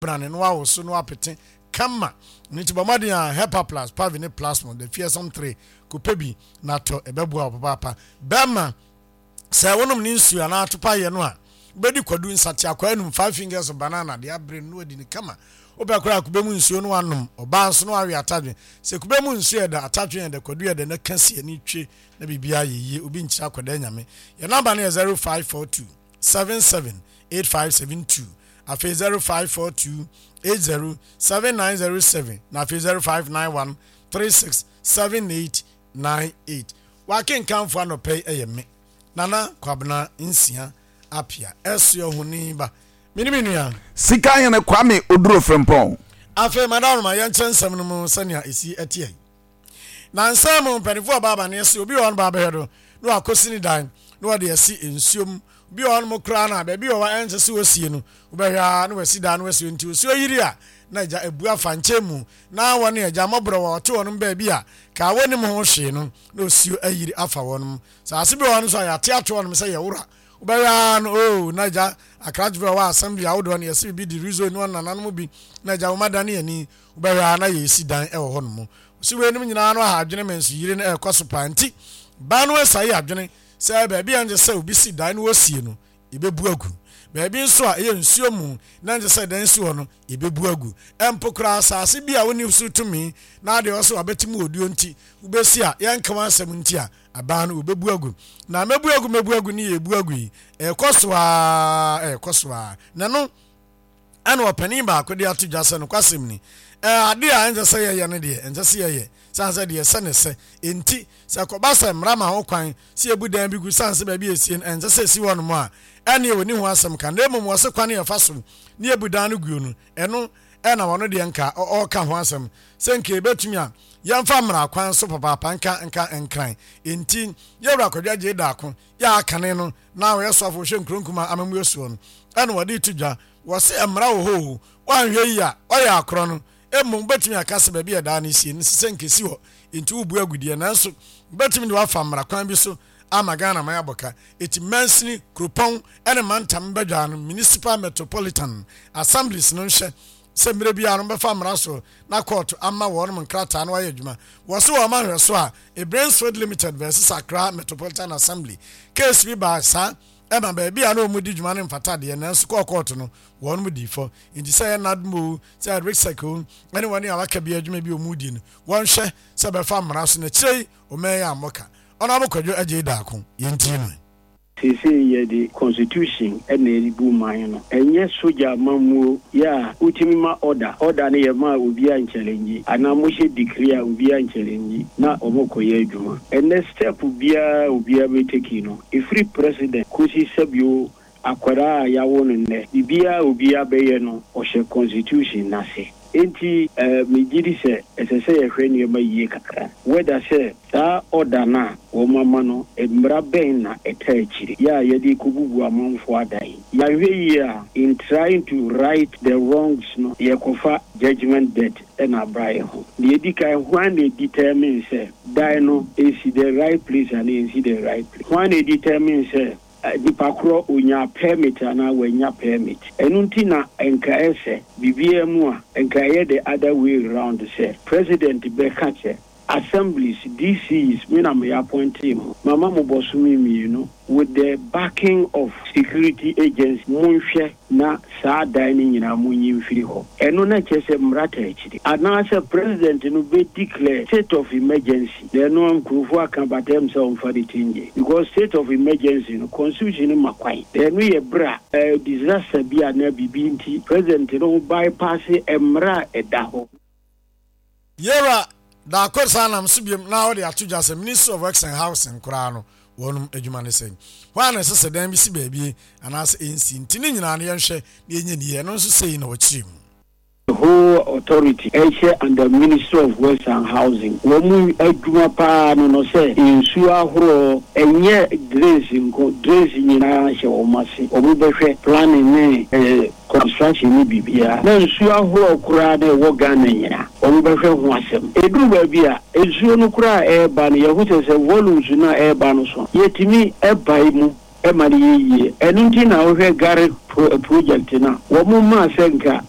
Brane na wawoso na wapete kama. Ɛno nti bɔ mmɔden a Hepa Plus, Pavi ne Plasmon, the fearsome three, kɔpɛ bi na tɔ, ɛbɛboa wo papaapa. Bɛrima, sɛ wonom ne nsuo anaa atopa yɛ no a, wobɛdi kwadu nsateakwaa anum, five fingers of banana, de abrɛ no na wadi no kama. Wopɛ koraa a, kube mu nsuo no wanom. Ɔbaa nso na wawe atadwe. Sɛ kube mu nsuo yɛ dɛ, atadwe yɛ dɛ, kwadu yɛ dɛ, na ka si ani twe na biribiara yɛ yie. Obi nkyerɛ akwadaa nyame. Yɛn namba no yɛ 0542 77 8572. Afei 0542 80 7907 na afei 0591 36 7898. W'akenkanfo anɔpa yi yɛ me, Nana Kwabena Nsia Apia, Ɛsoɛhoni ba. Me ne me nua. Sika Hene Kwame Oduro Frimpong. Afei Madaroma yɛnkyerɛ nsɛm no mu sɛnea ɛsi teɛ yi. Nansa mu mpanyinfo ɔba amaneɛ sɛ obi wɔ hɔ no ba abɛhwɛ do na wakɔsi ne dan na wɔde asi nsuo mu. Obi wɔ hɔnom koraa no a baabi wɔ hɔ a ɛnsɛ sɛ wɔsie no, wobɛhwɛ ara na wasi dan na wasi hɔ. Nti osuo yiri a na agya abu afa nkyɛn mu na wɔne agya mmɔborɔ wɔ ɔte wɔnom baabi a kaa wɔnnim ho hwee no na osuo ayiri afa wɔnom. Saase bi wɔ hɔ no nso a yɛate ato hɔnom sɛ yɛwora. Wobɛhwɛ ara no oo na agya akrakyefo a ɛwɔ assembly ahodoɔ no yɛse biribi de rezo ne wɔn nananom bi na agya wɔn adane ani. Wobɛhwɛ ara na yɛresi dan wɔ hɔnom. Ɔsi weinom nyinaa no aha adwene ma nsuyiri no ɛrekɔ so paa nti ban no asae adwene sɛ baabi a ɛnsɛ sɛ obi si dan no wɔsie no yɛbɛbu agu. Baabi nso a ɛyɛ nsuo mu na ɛnsɛ sɛ dan si hɔ no yɛbɛbu agu. Mpo koraa asase bi a wonni so tumi na adeɛ wɔ sɛ wabɛte mu oduo nti wobɛsi a yɛnka wɔn asɛm nti a aban no wɔbɛbu agu. Na mɛbu agu mɛbu agu ne yɛbu agu yi ɛrekɔ so ara ɛrekɔ so ara na ɛno Ɛna ɔpanin baako de ato dwa sɛ, Nokwasɛm ni, ɛ, ade a ɛnsɛ sɛ yɛyɛ no deɛ, ɛnsɛ sɛ yɛyɛ, sane sɛ deɛ ɛsɛ ne sɛ. Enti, sɛ ɛkɔba sɛ mmara ma ho kwan sɛ yɛbu dan bi gu sane sɛ baabi a ɛsie no, ɛnsɛ sɛ ɛsi hɔnom a, ɛnneɛ wɔnni ho asɛm ka. Na mmom wɔse kwan a yɛfa so na yɛbu dan no guo no, ɛno na wɔno deɛ nka ɔreka ho asɛm, sɛ nka yɛbɛtumi a, yɛmfa mmara kwan so papaapa nka nka nkran. Enti, Yɛwura Kwadwo Agyei Darko, yɛ a kane no na ɔyɛ soafo hwɛ nkuro nkumaa amammuo soɔ no ɛna wɔde reto dwa. Wɔse mmara wɔ hɔ oo, woanhwɛ yie a ɔyɛ akorɔ no. Mmom wobɛtumi aka sɛ baabi a ɛdaa no sie no sɛ nka ɛsi hɔ nti wobu agudeɛ nanso wobɛtumi de wafa mmara kwan bi so ama Ghana man abɔ ka. Eti mansini, kuropɔn ne mantam badwa no, Municipal Metropolitan Assemblies, no nhwɛ sɛ mmerɛ biara no wɔbɛfa mmara so na kɔɔto ama wɔnom nkrataa na wɔayɛ adwuma. Wɔse wɔma nhwɛso a, Ebrainsfield Limited vs Accra Metropolitan Assembly case bi baa saa ɛma baabi a na wɔn di dwuma no mfata deɛ nanso kɔɔ kɔɔto no wɔnom dii fɔ. Nti sɛ ɛyɛ NADMO o, sɛ ɛyɛ RIGSEC o, ɛne wɔne a waka bi adwuma bi a wɔn di no, wɔnhwɛ sɛ bɛfa mmara so na akyire yi ɔman yi ammɔ ka. Honourable Kwadwo Adjei Darko, yɛntie no. Seesei yɛde constitution na ɛrebu man no, ɛnyɛ sogya amammuo yɛ a wotumi ma order, order no yɛ ma a obiara nkyɛlɛngyi anaa mohyɛ decree a obiara nkyɛlɛngyi na wɔkɔyɛ adwuma. Ɛnnɛ step biara a obiara bɛ take no, ɛfiri president kɔsi sɛbio akwadaa a yɛawo no nnɛ, biribiara a obiara bɛyɛ no ɔhyɛ constitution no ase. Enti megye di sɛ ɛsɛ sɛ yɛhwɛ nneɛma yie kakra. Whether sɛ saa order no a wɔama no, mmara bɛn na ɛtaa akyire yɛ a yɛde rekɔbubu amanfoɔ adan? Yɛanhwɛ yie a, in trying to right the wrongs no, yɛrekɔfa judgement debt na abra yɛn ho. Deɛ ɛdi kan, hwan na ɛdetermine sɛ dan no ɛsi the right place anaa ɛnsi the right place? Hwan na ɛdetermine sɛ Nipa korɔ ɔnyaa permit anaa wannya permit. Ɛno nti na nka ɛsɛ, biribiara mu a, nka ɛyɛ the other way round sɛ President bɛka sɛ, Assemblies, DCs, me na me appointee mo, mama mo bɔsome mmienu with the backing of security agencies, monhwɛ na saa dan no nyinaa monyi mfiri hɔ. Ɛno na ɛkyerɛ sɛ mmara taa akyire. Anaasɛ President no bɛ declare state of emergency. Na ɛno nkurofo aka but ɛm sɛ ɔmfa ne ti ngye because state of emergency no constitution no ma kwan na ɛno yɛ bere a disaster bi anaa biribi nti president no bypass mmara a ɛda hɔ. Yewura Darko san nam so biom na ɔde ato dwa sɛ Ministry of Works and Housing koraa no wɔnom adwuma ne sɛn? Hɔ a na ɛsɛ sɛ dan bi si baabi anaasɛ ɛnsi nti ne nyinaa no yɛnhwɛ na yɛnyɛ ne yie ɛno nso sei na ɔkyerɛ mu. The whole authority ɛhyɛ under ministry of works and housing wɔn adwuma paa no no sɛ nsuo ahoroɔ ɛnyɛ drains nko drains nyinaa hyɛ wɔn ase wɔn bɛhwɛ planning ne construction ne biribiara na nsuo ahoroɔ koraa na ɛwɔ Ghana nyinaa wɔn bɛhwɛ ho asɛm ɛduru baabi a nsuo no koraa a ɛreba no yɛho sɛ sɛ volumes no a ɛreba no so yɛtumi ɛbae mu ɛma no yɛ yie. Ɛno nti na wohwɛ GARIC project no a, wɔn maa sɛ nka